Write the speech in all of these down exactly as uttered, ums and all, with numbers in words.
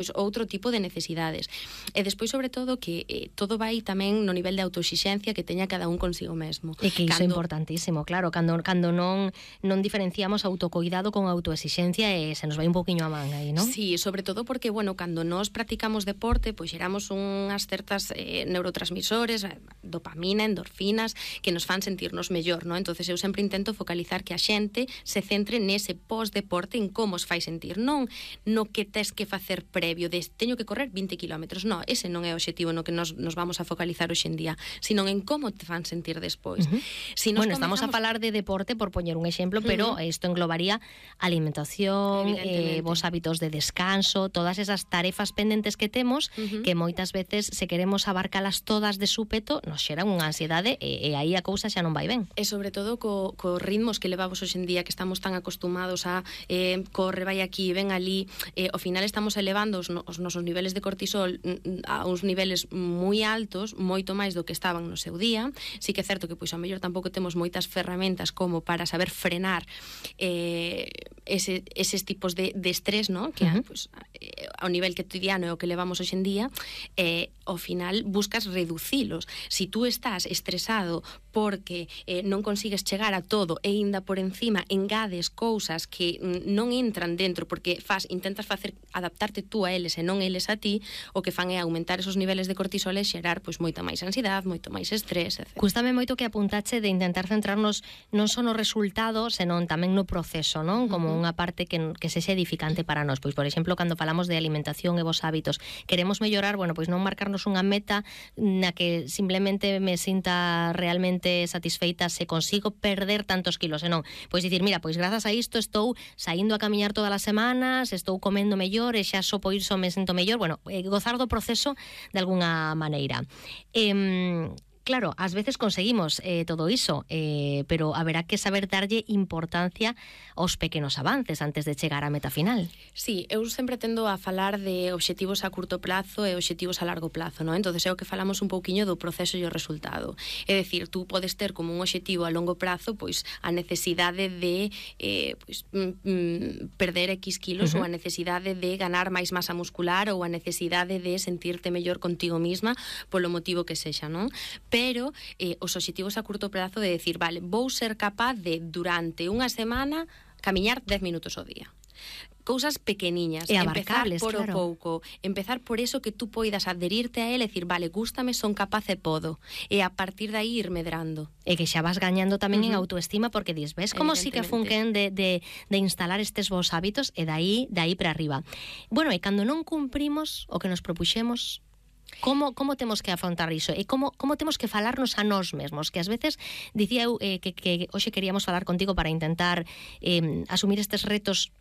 pois outro tipo de necesidades. E despois, sobre todo, que eh, todo vai tamén no nivel de autoexixencia que teña cada un consigo mesmo. E que iso é importantísimo, claro, cando, cando non, non diferenciamos autocuidado con autoexixencia e se nos vai un poquinho a man aí, non? Sí, sobre todo porque, bueno, cando nós practicamos deporte, pois xeramos unhas certas eh, neurotransmisores, dopamina, endorfinas, que nos fan sentirnos mellor, non? Entonces eu sempre intento focalizar que a xente se centre nese pós-deporte, en como os fai sentir, non no que tes que facer previo de teño que correr vinte kilómetros, non, ese non é o obxectivo no que nos, nos vamos a focalizar hoxe en día, sino en como te fan sentir despois. Uh-huh. Si nos bueno, comenzamos... estamos a falar de deporte, por poñer un exemplo, pero uh-huh. isto englobaría alimentación, eh, vos hábitos de descanso, todas esas tarefas pendentes que temos, uh-huh. que moitas veces, se queremos abarcalas todas de súpeto, nos xeran unha ansiedade e, e aí a cousa xa non vai ben. E sobre todo co, co ritmos que levamos hoxe en día, que estamos tan acostumados a eh, corre, vai aquí, ven ali, eh, ao final estamos elevando os, os nosos niveles de cortisol a uns niveles moi altos, moito máis do que estaban no seu día. Sí que é certo que pois a mellor tampouco temos moitas ferramentas como para saber frenar eh, ese, eses tipos de, de estrés, ¿no? Que uh-huh. pois, ao nivel cotidiano é o que levamos hoxe en día, eh, ao final buscas reducilos. Si tú estás estresado porque eh, non consigues chegar a todo e ainda por encima engades cousas que non entran dentro porque faz, intentas facer adaptarte tú a eles e non eles a ti, o que fan é aumentar esos niveles de cortisol e xerar pois moita máis ansiedade, moito máis estrés, etcétera. Cústame moito que apuntache de intentar centrarnos non só no resultado, senón tamén no proceso, non? Como unha parte que, que sexa edificante para nós. Pois, por exemplo, cando falamos de alimentación e vos hábitos, queremos mellorar, bueno, pois non marcarnos unha meta na que simplemente me sinta realmente satisfeita se consigo perder tantos kilos, e non, pois dicir, mira, pois grazas a isto estou saindo a camiñar todas as semanas, estou comendo mellor e xa só por iso me sinto mellor, bueno, eh, gozar do proceso de alguna maneira. Eh, Claro, ás veces conseguimos eh, todo iso, eh, pero haberá que saber darlle importancia aos pequenos avances antes de chegar á meta final. Sí, eu sempre tendo a falar de obxectivos a curto plazo e obxectivos a largo plazo, non? Entonces é o que falamos un pouquiño do proceso e o resultado. É dicir, tú podes ter como un obxectivo a longo prazo pois a necesidade de eh, pois, mm, perder X kilos, uh-huh. ou a necesidade de ganar máis masa muscular, ou a necesidade de sentirte mellor contigo misma polo motivo que sexa, non? Pero eh, os obxectivos a curto prazo de decir, vale, vou ser capaz de durante unha semana camiñar dez minutos ao día. Cousas pequeniñas, e empezar por claro. o pouco, empezar por eso que tú poidas adherirte a él e decir, vale, gústame, son capaz e podo, e a partir de aí ir medrando. E que xa vas gañando tamén uh-huh. en autoestima, porque dis, ves como si que funquen de, de, de instalar estes vos hábitos, e dai, dai para arriba. Bueno, e cando non cumprimos o que nos propuxemos, Como, como temos que afrontar iso? E como, como temos que falarnos a nós mesmos? Que ás veces, dicía eu eh, que, que hoxe queríamos falar contigo para intentar eh, asumir estes retos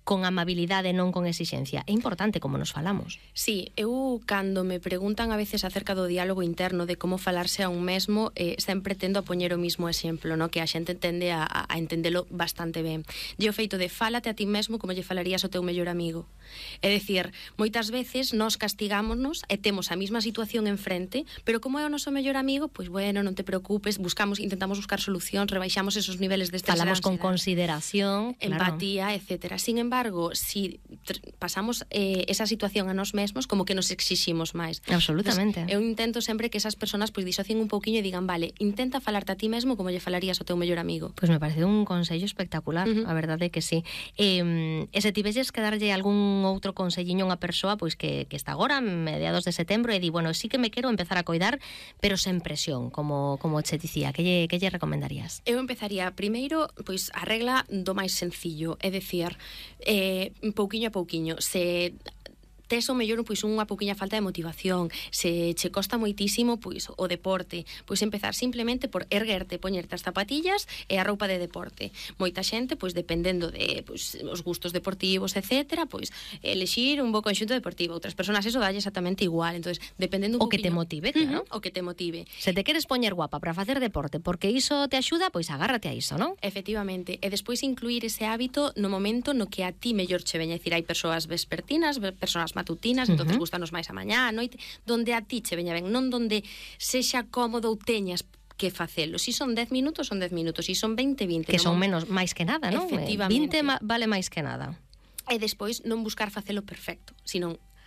con amabilidade, non con exixencia. É importante como nos falamos. Sí, eu cando me preguntan a veces acerca do diálogo interno, de como falarse a un mesmo, eh, sempre tendo a poñer o mismo exemplo, no? Que a xente tende a, a entendelo bastante ben. E o feito de fálate a ti mesmo como lle falarías ao teu mellor amigo. É dicir, moitas veces nós castigámonos e temos a mesma situación enfrente, pero como é o noso mellor amigo, pois bueno, non te preocupes, buscamos, intentamos buscar solucións, rebaixamos esos niveles de estrés, falamos con consideración, empatía, claro. etcétera. Sin embargo, si pasamos eh, esa situación a nós mesmos, como que nos exiximos máis. Absolutamente. Entonces, eu intento sempre que esas personas pois disocien un pouquiño e digan, vale, intenta falarte a ti mesmo como lle falarías ao teu mellor amigo. Pois pues me parece un consello espectacular, uh-huh. a verdade é que sí. Eh, e se tivesses que darlle algún outro conselliño a unha persoa pois que, que está agora, mediados de setembro, e di, bueno, sí que me quero empezar a coidar, pero sen presión, como, como che dicía, que lle, que lle recomendarías? Eu empezaría primeiro, pois, a regla do máis sencillo, é dicir, eh, pouquiño a pouquiño, se tes o mellor pois unha pouquiña falta de motivación, se che costa moitísimo pois o deporte, pois empezar simplemente por erguerte, poñerte as zapatillas e a roupa de deporte. Moita xente, pois dependendo de pois os gustos deportivos, etcétera, pois elixir un bo conxunto deportivo. Outras persoas eso dalle exactamente igual. Entonces, dependendo un o que te motive, claro. Uh-huh, o que te motive. Se te queres poñer guapa para facer deporte, porque iso te axuda, pois agárrate a iso, non? Efectivamente. E despois incluir ese hábito no momento no que a ti mellor che veña. É dicir, hai persoas vespertinas, persoas matutinas, uh-huh. entonces gustanos máis a mañá, a noite, donde a ti che veña ben, non donde sexa cómodo ou teñas que facelo. Si son dez minutos, son dez minutos, si son veinte, veinte. Que son menos, máis que nada, non? Efectivamente. vinte ma, vale máis que nada. E despois non buscar facelo perfecto, sino